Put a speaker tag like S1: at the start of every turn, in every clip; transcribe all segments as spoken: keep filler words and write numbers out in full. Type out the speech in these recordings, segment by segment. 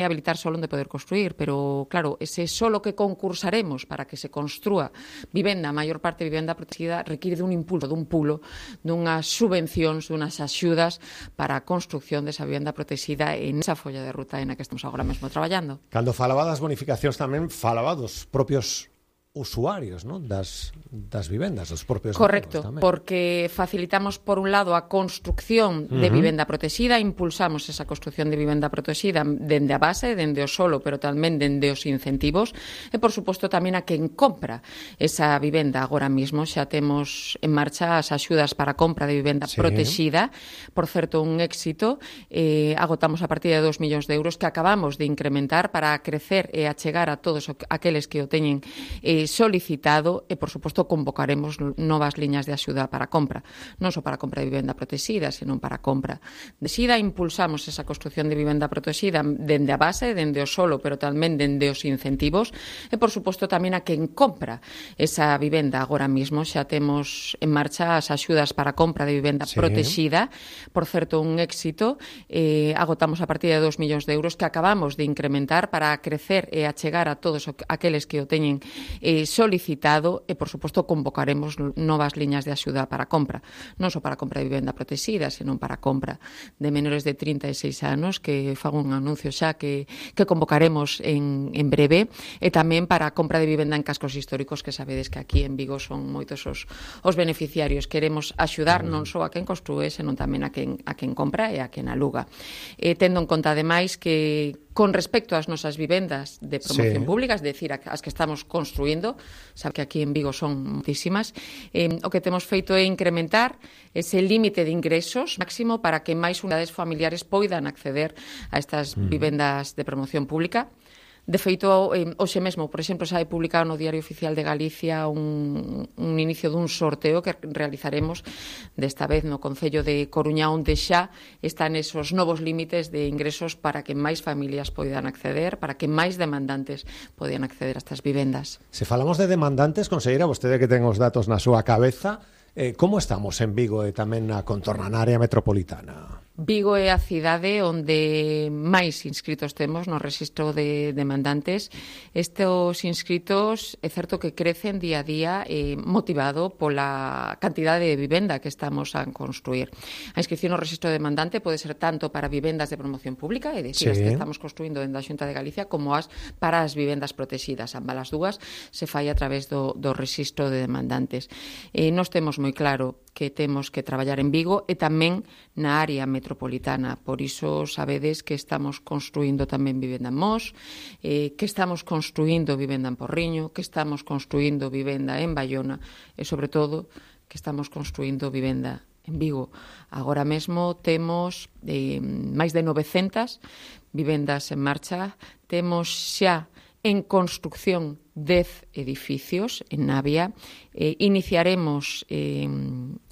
S1: habilitar solo onde poder construir, pero claro, ese solo que concursaremos para que se construa vivenda, a maior parte de vivenda protegida, require dun impulso, dun pulo, dunhas subvencións, dunhas axudas para a construcción desa vivenda protegida en esa folla de ruta en a que estamos agora mesmo traballando.
S2: Cando falaba das bonificacións tamén falaba dos propios usuarios, ¿no? das, das vivendas, dos propios
S1: Correcto,
S2: tamén.
S1: Porque facilitamos por un lado a construcción de uh-huh. vivenda protegida, impulsamos esa construcción de vivenda protegida dende a base, dende o solo, pero tamén dende os incentivos e, por suposto, tamén a quen compra esa vivenda. Agora mismo xa temos en marcha as axudas para a compra de vivenda sí. protegida, por certo, un éxito. Eh, agotamos a partir de dos millóns de euros que acabamos de incrementar para crecer e achegar a todos aqueles que o teñen eh, solicitado e, por suposto, convocaremos novas liñas de axuda para a compra, non só para a compra de vivenda protegida, senón para a compra de SIDA. Impulsamos esa construcción de vivenda protegida dende a base, dende o solo, pero tamén dende os incentivos e, por suposto, tamén a quen compra esa vivenda. Agora mismo xa temos en marcha as axudas para a compra de vivenda sí. protegida, por certo, un éxito. Eh, agotamos a partir de dos millóns de euros que acabamos de incrementar para crecer e achegar a todos aqueles que o teñen eh, solicitado e, por suposto, convocaremos novas liñas de axuda para a compra, non só para a compra de vivenda protegida, senón para a compra de menores de trinta e seis anos, que fago un anuncio xa que, que convocaremos en, en breve, e tamén para a compra de vivenda en cascos históricos, que sabedes que aquí en Vigo son moitos os, os beneficiarios. Queremos axudar non só a quen construe, senón tamén a quen, a quen compra e a quen aluga. Eh, tendo en conta, ademais, que con respecto ás nosas vivendas de promoción sí. pública, es decir, as que estamos construindo, sabe que aquí en Vigo son moitísimas, eh, o que temos feito é incrementar ese límite de ingresos máximo para que máis unidades familiares poidan acceder a estas mm. vivendas de promoción pública. De feito, eh, hoxe mesmo, por exemplo, xa hai publicado no Diario Oficial de Galicia un, un inicio dun sorteo que realizaremos desta vez no Concello de Coruña, onde xa están esos novos límites de ingresos para que máis familias poidan acceder, para que máis demandantes poidan acceder a estas vivendas.
S2: Se falamos de demandantes, conselleira, vostede que ten os datos na súa cabeza, eh, como estamos en Vigo e tamén na contorna, na área metropolitana?
S1: Vigo é a cidade onde máis inscritos temos no rexistro de demandantes. Estes inscritos é certo que crecen día a día eh, motivado pola cantidade de vivenda que estamos a construir. A inscripción no rexistro de demandante pode ser tanto para vivendas de promoción pública, é dicir, sí. as que estamos construindo dentro da Xunta de Galicia, como as para as vivendas protegidas. Ambas as dúas se fai a través do, do rexistro de demandantes. Eh, nos temos moi claro que temos que traballar en Vigo e tamén na área metropolitana. Por iso sabedes que estamos construindo tamén vivenda en Mos, eh, que estamos construindo vivenda en Porriño, que estamos construindo vivenda en Baiona e, sobre todo, que estamos construindo vivenda en Vigo. Agora mesmo temos eh, máis de novecentas vivendas en marcha. Temos xa en construcción dez edificios en Navia. Eh, iniciaremos eh,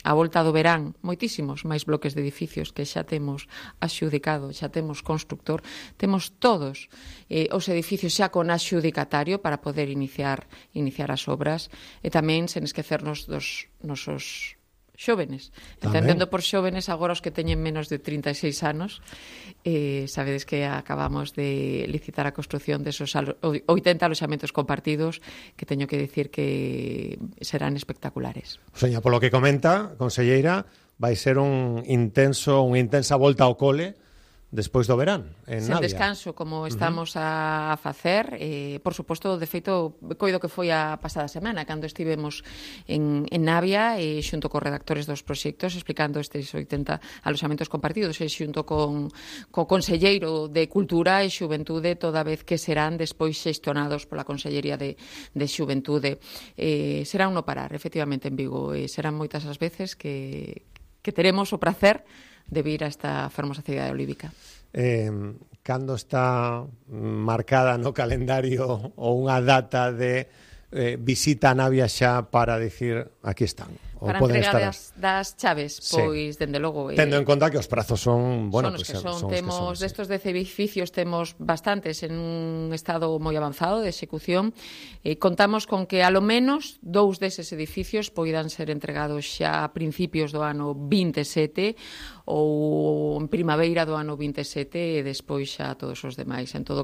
S1: a volta do verán moitísimos máis bloques de edificios que xa temos axudicado, xa temos constructor. Temos todos eh, os edificios xa con axudicatario para poder iniciar iniciar as obras, e tamén sen esquecernos dos nosos xóvenes. Entendendo por xóvenes agora os que teñen menos de trinta e seis anos. Eh, sabedes que acabamos de licitar a construción desos oitenta aloxamentos compartidos, que teño que decir que serán espectaculares.
S2: Seña, polo que comenta, conselleira, vai ser un intenso, unha intensa volta ao cole despois do verán, en
S1: Sen
S2: Navia.
S1: descanso, como estamos uh-huh. a facer. Eh, por suposto, de feito, coido que foi a pasada semana, cando estivemos en, en Navia, e xunto cos redactores dos proxectos, explicando estes oitenta aloxamentos compartidos, e xunto con co Conselleiro de Cultura e Xuventude, toda vez que serán despois xestionados pola Consellería de, de Xuventude. Eh, será un no parar, efectivamente, en Vigo. Eh, serán moitas as veces que, que teremos o prazer de vir a esta fermosa cidade olívica.
S2: Eh, cando está marcada no calendario ou unha data de eh, visita a Navia xa para dicir aquí están Ou
S1: para
S2: poden
S1: entrega
S2: estar...
S1: das, das chaves,
S2: Sí.
S1: pois, dende logo...
S2: Tendo
S1: eh,
S2: en conta que os prazos son, bueno,
S1: son os
S2: pues,
S1: que son.
S2: son os que
S1: Temos
S2: son, sí.
S1: destos dez edificios, temos bastantes en un estado moi avanzado de execución. Eh, contamos con que, alo menos, dous deses edificios poidan ser entregados xa a principios do ano vinte e sete ou en primavera do ano vinte e sete e despois xa todos os demais. En todo